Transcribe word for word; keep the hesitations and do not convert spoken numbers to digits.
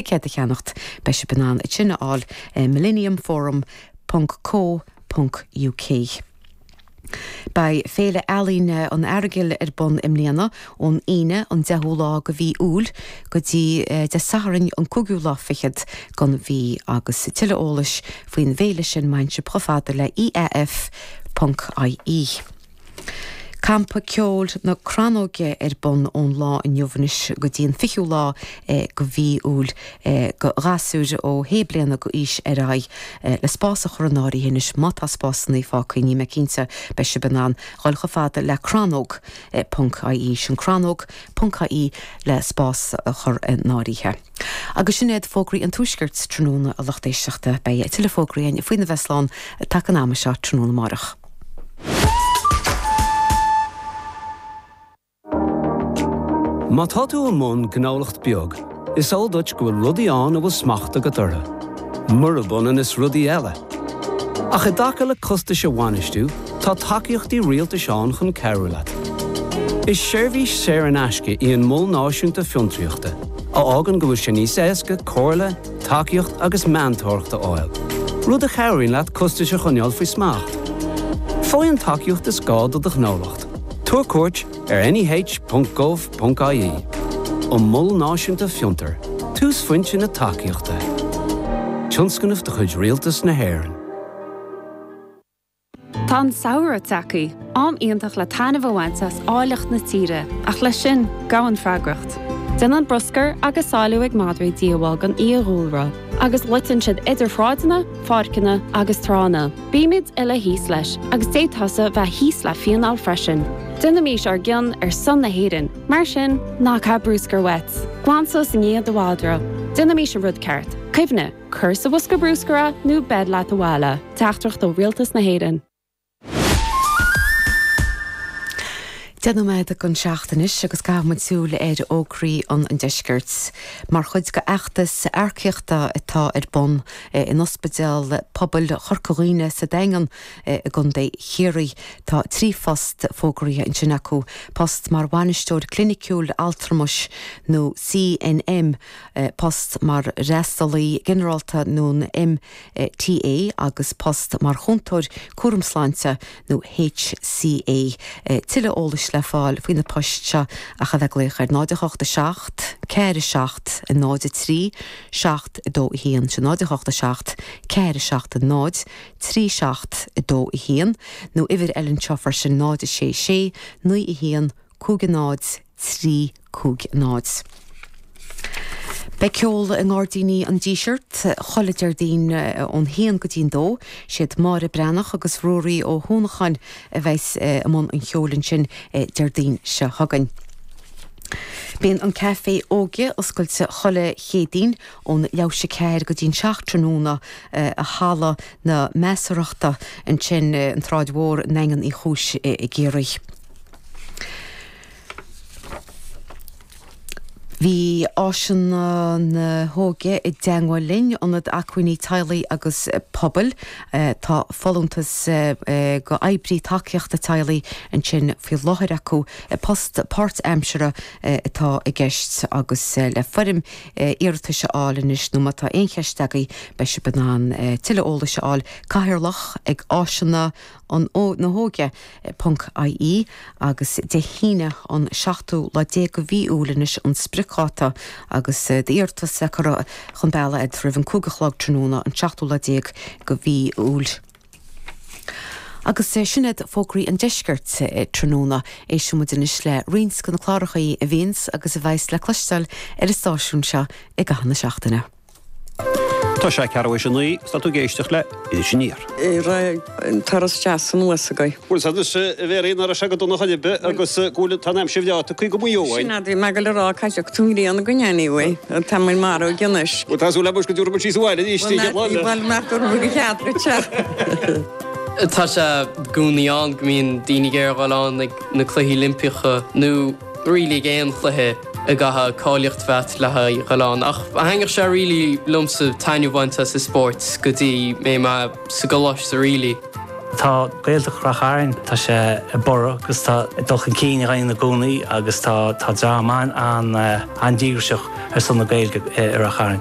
ticéad a cheannacht beidh sibh in ann sin a fháil millenniumforum ponc co ponc uk. Beidh Féile Ealaíne an Earagail ar bun i mbliana ón Aoine an deichiú lá de mhí Iúil go dtí Dé Sathairn an cúigiú lá fichead den mhí agus tuilleadh eolais faoin bhféile sin má théann sibh chomh fada le IAF ponc IE. Campa Ceoil na Crannóige ar bun ón lá inniu anois go dtí an fichiú lá de mhí Iúil do ghasúir ó shé bliana d'aois ar aghaidh le spás a chur in áirithe anois má tá spásanna fágtha níl mé cinnte beidh sibh in ann dhul chomh fada le crannóg ponc IE sin crannóg ponc IE le spás a chur in áirithe. Agus sin iad fógraí an Tuaiscirt tráthnóna a lucht éisteachta beidh tuilleadh fógraí againn faoina bheith slán taca an ama seo tráthnóna amárach. Má tá tú i mbun gnólacht beag, is eol duit go bhfuil rudaí ann a bhfuil smacht agat orthu. Murab ionann is rudaí eile. Ach i dtaca le costais a bhainistiú, tá tacaíochtaí rialtais ann chun cabhrú leat. Is seirbhís saor in aisce í an Mol Náisiúnta Fiontraíochta, a fhágann go bhfuil sé níos éasca comhairle, tacaíocht agus meantóireacht a fháil, rud a chabhraíonn leat costais a choinneáil faoi smacht. Faigh an tacaíocht is gá do do ghnólacht. Tabhair cuairt ar neh.gov.ie. An Mol Náisiúnta Fiontar, túsphointe na tacaíochta. Tionscnamh de chuid Rialtas na hÉireann. Tá an samhradh tagtha, am iontach le taitneamh a bhaint as áilleacht na tíre, ach leis sin, gabhann freagracht. Déanann bruscar agus sáiliú ag madraí díobháil don fhiadhúlra, agus loiteann siad idir shráideanna, pháirceanna agus tránna. Bímid uile thíos leis, agus d'fhéadfása bheith thíos le fíneáil freisin. Déanaimís ár gcion ar son na hÉireann, mar sin, ná caith bruscar uait. Glan suas i ndiaidh do mhadra. Déanaimís an rud ceart. Cuimhnigh, cuir sa bhosca bruscair é nó beir leat abhaile. Teachtaireacht ó Rialtas na hÉireann. Deich nóiméad don seacht anois agus caithfidh muid súil ar fhógraí an deiscirt. Mar chuid d'fheachtas earcaíochta atá ar bun in Ospidéal Pobail Chorca Dhuibhne sa Daingean i gContae Chiarraí, tá trí phost fógraithe ansin acu, post mar bhainisteoir cliniciúil altramais nó CNM, post mar fhreastalaí ginearálta nó MTA agus post mar chúntóir cúram sláinte nó HCA. Tuilleadh eolais le fáil faoi na poist seo ach a bheith ag glaoch ar náid a hocht a seacht, ceathair a seacht, náid a trí, seacht a dó a haon. Sin náid a hocht a seacht, ceathair a seacht, náid, trí seacht a dó a haon nó uimhir eile anseo freisin náid a sé sé, naoi a haon, cúig a náid, trí cúig náid. Beidh ceol i nGairdíní an Dísirt chuile Déardaoin ón haon go dtí'n dó. Siad Máire Breathnach agus Ruairí Ó hUanacháin a bheas i mbun an cheoil ansin Déardaoin seo chugainn. Bíonn an Caifé Óige oscailte chuile Chéadaoin ón leathuair théis a ceathair go dtí'n seacht tráthnóna i Halla na Measarthachta ansin an tSráid Mhór i nDaingean Uí Chúis i gCiarraí. Bhí Áiseanna na hÓige i dteagmháil linn, Ionad Acmhainní Teaghlaigh agus Pobail. Tá folúntas do oibrí tacaíochta teaghlaigh ansin faoi láthair acu. Post páirtaimseartha atá i gceist agus le foirm iarratais a fháil anois nó má tá aon cheist agaibh beidh sibh in ann tuilleadh eolais a fháil. Cathaoirleach ag Áiseanna an na hÓige ponc IE agus Dé hAoine an seachtú lá déag de mhí Iúil anois an spriocdháta agus d'iarratas le cur chun bealaigh agat roimh an cúig a chlog tráthnóna an seachtú lá déag de mhí Iúil. Agus sin iad fógraí an deiscirt tráthnóna. Éistfidh muid anois le roinnt de na cláracha a bhíonns agus a bheas le cloisteáil ar an stáisiún seo i gcaitheamh na seachtaine. Tá sé ceathrú théis a naoi, is tá tú ag éisteacht le Iris Aniar. Raibh an turas deas anuas agaibh. Bhuel, sea anois, a Mhéirí, nach raibh sé go dona chor ar bith agus go bhfuil, tá an aimsir bhreá tagtha go Maigh Eo Sin é, bhí mé ag dul a rá, caithfidh tú an ghrian againn anyway, tá muid marbh de anois. Bhuel, tá súil agam go dtabharfaidh muid síos abhaile arís Bhuel, bhuel, nach dtabharfaidh go cead duit sea. Tá sé i gcónaí ann go mbíonn daoine ag iarraidh a dhul ann ag na Cluichí Oilimpeacha nó really ag aon chluiche a gcaithfidh cáilíocht bheith agat le haghaidh dhul ann. Ach thaitnigh sé really liomsa taitneamh a bhaint as an spórt go dtí mé mé sa gcoláiste really. Tá Gaeltacht Ráth Chairn tá sé ag borradh agus tá dul chun cinn againn i gcónaí agus tá tá dream an an an-díograiseach ar son na Gaeilge i Ráth Chairn.